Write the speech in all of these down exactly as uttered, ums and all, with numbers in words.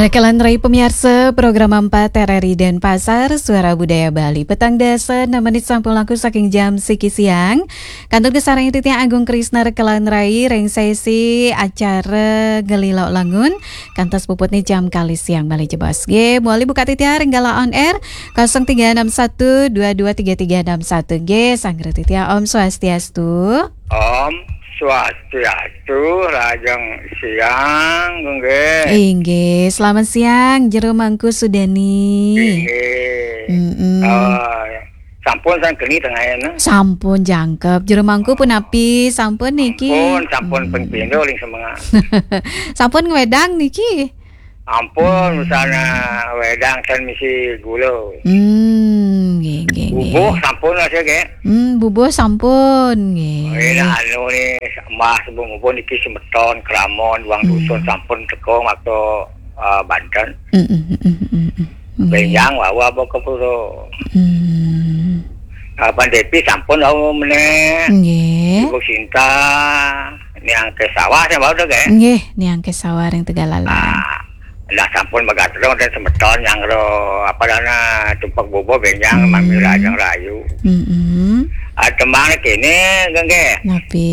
Kalantaran pamiarsa program empat R R I Denpasar, Suara Budaya Bali. Petang dasa enam menit sampun langkung saking jam siki siang. Kantun kasarengin titiang Agung Krisna kalantaran ring sesi acara Gelilok Langun. Kantos puputne jam kalih siang malih jebos. Nggih, malih buka titiang ring galah on air kosong tiga enam satu dua dua tiga tiga enam satu. Nggih, sanggra titiang Om Swastiastu. Om Swastiastu, rahajeng siang, nggih. Inggih, selamat siang, Jero Mangku Sudani. Inggih. Mm-mm. Eh, sampun sang geni tengahin. Sampun jangkep. Jero Mangku punapi? Sampun niki? Sampun, sampun Hmm. ping pindho ring semengan. Sampun ngwedang niki? Ampun, hmm, misalnya wedang ten misi gula. Hmm, nggih, nggih, nggih. Bubuh sampun, Mas, ya, nggih? Hmm, bubuh sampun, nggih. Oh, iya, anu nih, Mas, bubuh niki semeton, Kramon, Wang hmm. Dusun sampun teko waktu, eh, Banten. Hmm, hmm, hmm, hmm, hmm, hmm. Nggih. Benjang, wawa, apa kepuro. Hmm. Ah, Pan Depi sampun wau meneh. Nggih. Ibu Sinta, Niang Kesawa, saya mau deh, nggih? Nggih, Niang Kesawa ring Tegallalang. Ah, lah sampun megatrong dan semeton yang ro, apa dana, tumpek bubuh benjang, hmm. Mami Rajang Rayu. Mm-mm. Ah, tembang kene, nggih. Napi?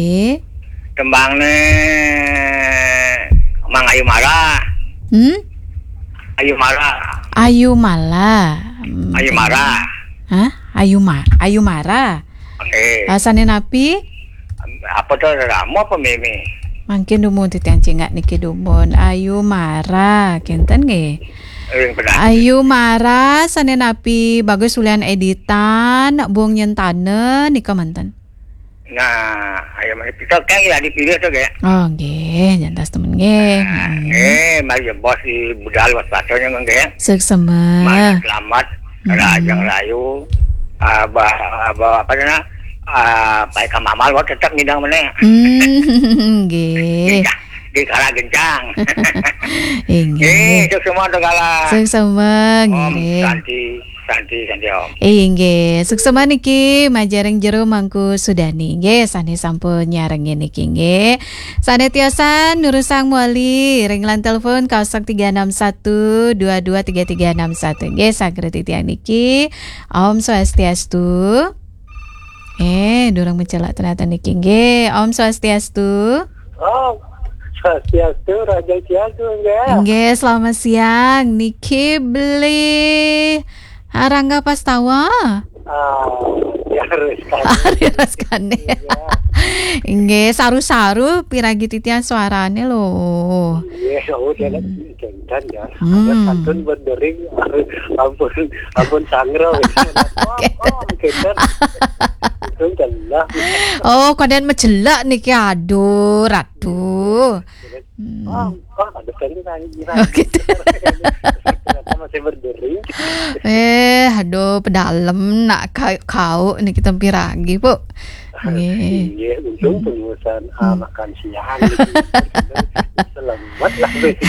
Tembang ne Mang Ayu Mara. Hmm? Ayu Mara. Ayu Mala. Hmm, Ayu Mara. Hah? Ayu Ma-, Ayu Mara. Eh. Rasane napi? Apa to, Rama apa Meme? Mangkin dumun titiang cingak niki dumun. Ayu Mara, kinten nggih. Eh, benar. Ayu Mara, sane napi Bagus Ulian Editan, Bung Nyentana, nika manten. Nah, ayo mari kita kan ya dipilih tuh, nggih. Oh, nggih, jantas temen nggih. Nah, hmm. Eh, mari ya bos di budal was pasonya, nggih. Suksema. Mari selamat, hmm. Rajang Rayu. Abah, abah, apa namanya? Ah, baik Kang Mamal, wah, tetap ngidang meneh. Hmm, nggih. Gencang, di kala gencang. Inggih. Eh, suksema tuh kala. Suksema, Om nggih. Santi, Santi, Santi, Om. Inggih, suksema niki majeng ring Jero Mangku Sudani. Nggih, sane sampun nyarengin niki, nggih. Sane tiosan nurusang mawali ring line telepon kosong tiga enam satu dua dua tiga tiga enam satu. Nggih, saged titiang niki. Om Swastiastu. Eh, durung mencelak ternyata niki. Nggih, Om Swastiastu. Om Swastiastu, Raja Siastu, nggih. Nggih, selamat siang. Niki beli Rangga Pastawa. Ah, ya, Rizkani. Rizkani. Iya. Nggih, saru-saru piragi titiang suarane lho. Nggih, oh, dia hmm. Lagi jantan ya. Hmm. Ada pantun berdering, ampun, ampun sangro. Wah, wah, jantan. Itu jelas. Oh, konden mejelek niki, aduh, ratu. Hmm. Oh, oh, ada kali lagi. Oh, gitu. Ternyata masih berdering. Eh, aduh, pedalem nak ka-, kau niki tempi ragi, Bu. Nggih. Nggih, untung hmm. Pengurusan, ah, hmm. Makan siang gitu. Selamat lah, besok.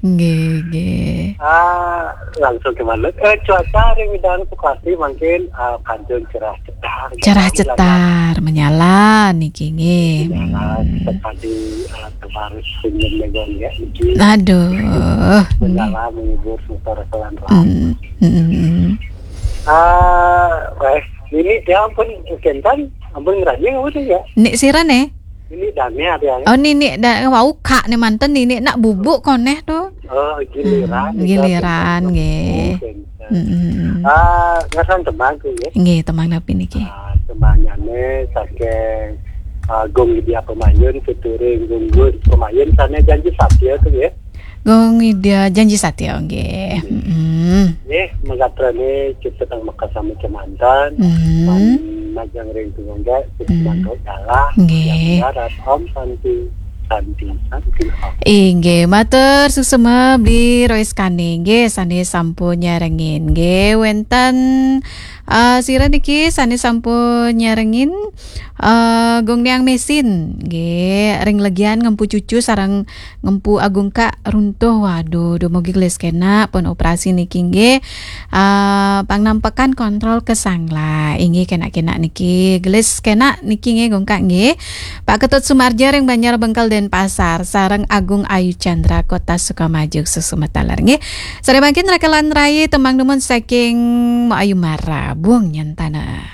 Nggih, nggih. Ah, langsung ke mana? Eh, cuaca hari Widang Sukasih mungkin, ah, kantun cerah cetar. Cerah cetar, menyala niki nggih. Menyala hmm. Sekali, ah, kemarin senyum megang ya, niki. Aduh. Menyala menghibur semeton kelan. Hmm, hmm, hmm. Ah, wes, ini ya ampun, Kentan, ampun ngerajin apa tuh ya? Nik sira ne? Ini Dania dia. Oh, nini da wau kak ne manten nini nak bubuk koneh tu. Oh, giliran. Hmm, giliran, nggih. Oh, Kentan. Hmm, hmm, hmm. Ah, ngerasa tembang tuh ya. Nggih, tembang napi niki? Ah, tembangnya ne saking, ah, Gung Widya Pemayun, featuring Gung Gun Pemayun, sana Janji Satya tuh ya. Gung Widya Janji Satya, nggih. Nggih. Mm-mm. Nggih, mangkatrane kita tang maka sama kemantan, mm. Man majeng ring tunggal, kita mm. Mangkok dalah, nggih. Yang darat, Om Santi, Santi, Santi, Om. Inggih, matur suksema Bli Rois Kani, nggih, sane sampun nyarengin, nggih, wenten Ah, sira niki sané sampun nyarengin, ah, Gung Niang Mesin, nggih, ring legian ngempu cucu sareng ngempu Agung Kak runtuh. Waduh, dumugi gelis kenak pun operasi niki, nggih. Ah, pangnampakan kontrol kesangla, inggih, kenak-kenak niki. Gelis kenak niki, nggih, Gung Kak, nggih. Pak Ketut Sumarja ring Banjar Bengkel Denpasar, sareng Agung Ayu Chandra Kota Sukamaju, suksma taler, nggih. Sané mangkin rekelan rai tembang dumun saking Mbok Ayu Mara, Bung Nyentana.